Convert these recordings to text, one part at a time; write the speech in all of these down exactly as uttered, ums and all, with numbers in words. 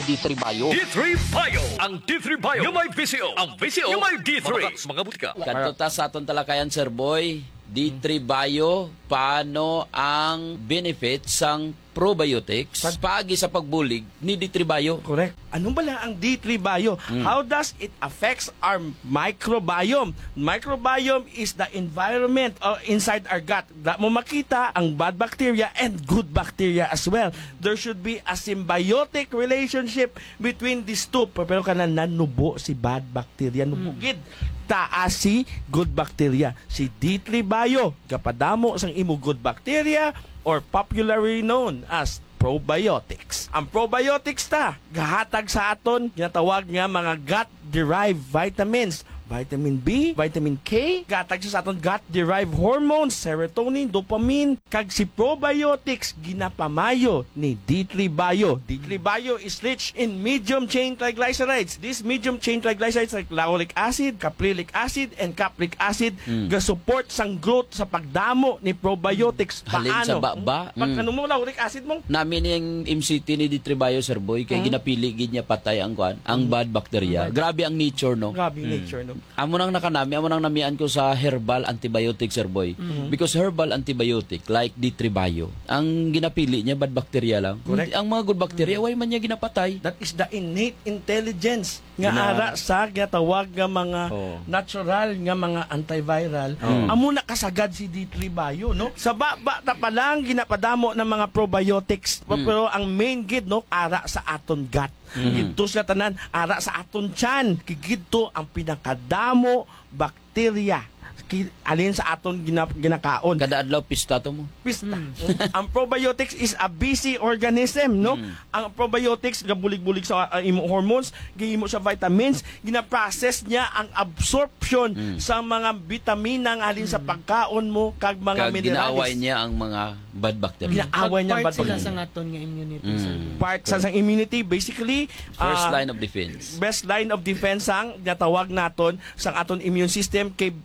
D three Bio. D three Bio. Ang D three Bio nga may visyo. Ang visyo nga may D three. Mga, mga butika. Kadto ta sa aton talakayan, Sir Boy. D three Bio, paano ang benefit sang probiotics Pag- paagi sa pagbulig ni D three Bio? Correct. Ano bala ang D three Bio? Mm. How does it affects our microbiome? Microbiome is the environment, uh, inside our gut. Da mo makita ang bad bacteria and good bacteria as well. There should be a symbiotic relationship between these two. Pero kana nanubo si bad bacteria, nubo Mm. gid. Taas si good bacteria. Si D three Bio, gapadamo sang imo good bacteria, or popularly known as probiotics. Ang probiotics ta, gahatag sa aton ginatawag nga mga gut-derived vitamins, vitamin B, vitamin K, gahatag sa aton gut-derived hormones, serotonin, dopamine, kag si probiotics ginapamayo ni D three Bio. D three Bio is rich in medium chain triglycerides. This medium chain triglycerides like lauric acid, caprylic acid, and capric acid Mm. ga-support sang growth sa pagdamo ni probiotics. Halin sa Paano? baba. Pag Mm. ano mo, lauric acid mo? Nami ning M C T ni D three Bio, Sir Boy, kay Mm. ginapili gid niya patay ang kuan, ang Mm. bad bacteria. Bad. Grabe ang nature, no? Grabe ang Mm. nature, no? Amo nang nakanami, amo nang namian ko sa herbal antibiotic, Sir Boy. Mm. Because herbal antibiotic, like D three Bio, ang ginapili niya bad bacteria lang. Correct. Ang mga good bacteria, Mm. way man niya ginapatay. That is the innate intelligence nga Gina- ara sa ginatawag nga mga Oo. natural nga mga antiviral. Oo. Amo nakasagad si D three Bio, no? Sa baba ta pa lang ginapadamo ng mga probiotics, Mm. pero ang main gid, no, ara sa aton gut. Mm. Gidto sila tanan, ara sa aton tiyan. Gidto ang pinakadamo bakterya. Ki-, alin sa aton gina-, ginakaon. Kada adlaw pista to mo. Pista. Mm. Ang probiotics is a busy organism, no? Mm. Ang probiotics gabulig-bulig sa, uh, imo hormones, gihimo sa vitamins, ginaprocess niya ang absorption Mm. sa mga bitamina nga halin sa Mm. pagkaon mo kag mga Kag minerales. Ginaaway niya ang mga bad bacteria. Ginaaway niya ang Part bad sila bacteria. Sa aton nga immunity, Mm. sir. Part sa, sang immunity, basically, First ah, line of defense. Best line of defense sang ginatawag naton sang aton immune system kay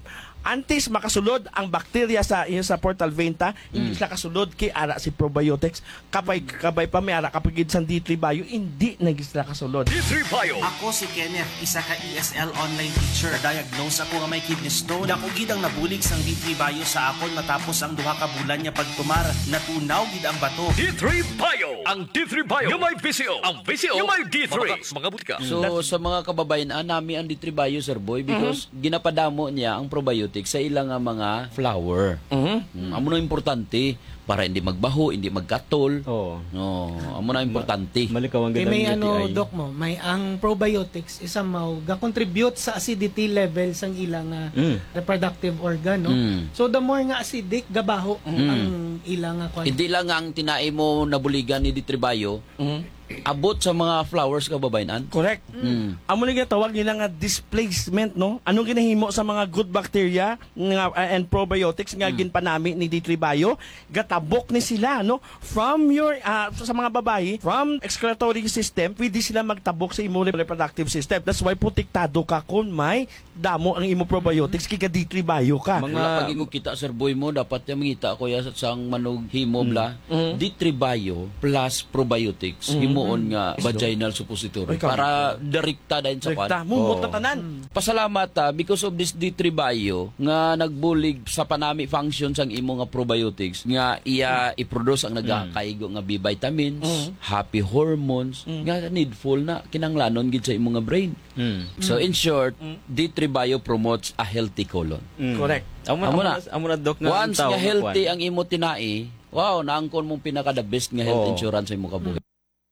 antes makasulod ang bakterya sa, yun sa portal vein ta, hindi Mm. sila kasulod kay ara si probiotics. Kabay, kabay pa may ara ka pa gid sang D three Bio, hindi na gid sila kasulod. D three Bio. Ako si Kenneth, isa ka E S L online teacher. Na-diagnose ako nga may kidney stone. Dako gid ang nabulig sang D three Bio sa akon matapos ang duha ka bulan nga pagtumar. Natunaw gid ang bato. D three Bio. Ang D three Bio nga may visyo. Ang visyo nga may D three. Mga, mga butika. So, That's sa mga kababayan, ah, nami ang D three Bio, Sir Boy, because Mhm. ginapadamo niya ang probiotics sa ila nga mga flour. Mhm. Mm, amo na importante para hindi magbaho, hindi magkatol. Oo. No, amo na Ma-, importante. Malikawan Kay gid ang may ano, U T I. Doc, mo, may ang probiotics, isa mao, ga-contribute sa acidity level sang ila nga Mm. reproductive organ, no? Mm. So, the more nga acidic, gabaho Mm. ang ila nga kwan. Hindi lang nga ang tinai mo nabuligan ni D three Bio, Mhm. abot sa mga flours, kababayan-an. Correct. Mm. Amo ni ginatawag nila nga displacement, no? Anong ginahimo sa mga good bacteria nga, uh, and probiotics nga Mm. ginpanami ni D three Bio? Gatabok ni sila, no? From your, ah, sa mga babayi, from excretory system, pwede sila magtabok sa imo reproductive system. That's why protektado ka kung may damo ang imo probiotics, kay ga-D three Bio ka. Mga Wala pa gid ko kita, Sir Boy, mo. Dapat niya mangita ko ya sa, sang manughimo Mm. bla. Mm. D three Bio plus probiotics, Mm. himuon nga Isda. vaginal suppository Ay, kami. Para direkta dayon sa Direkta. kwan. Mumot Oo. na tanan. Mm. Pasalamat, ah, because of this D three Bio nga nagbulig sa panami function sang imo nga probiotics nga iya Mm. i-produce ang Mm. nagakaigo nga B vitamins, Mm. happy hormones, Mm. nga needful na kinahanglanon gid sa imo nga brain. Mm. So, Mm. in short, Mm. D three Bio promotes a healthy colon. Mm. Correct. Amo na, Amo amo na. na, amo na, Doc, nga Once ang tao nga nga healthy kwan. ang imo tinai, wow, naangkon mong pinaka the best nga health Oo. insurance sa imo kabuhi.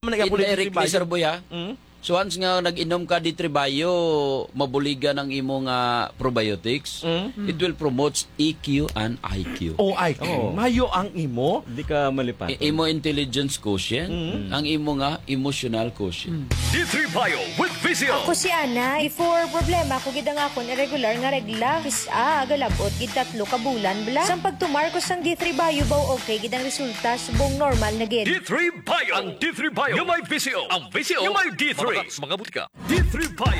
Amo na, Indirectly, D three Bio. Sir Boy, ha? Mm. So, once nga nag-inom ka D three Bio, mabuligan ang imo nga probiotics, Mm. it will promote E Q and I Q. Oh, I Q. Oo. Mayo ang imo. Di ka malipatan. I-, imo intelligence quotient, Mm. ang imo nga emotional quotient. Mm. D three Bio with Visio. Ako si Ana. Before, problema ko gid ang akon irregular nga regla. Kis-a, galabot gid tatlo ka bulan bala. Sang pagtumar ko sang D three Bio, baw okay gid ang resulta, subong normal na gid. D three Bio. Ang D three Bio nga may Visio. Ang Visio nga may D three. Mga, mga butika. D three Bio.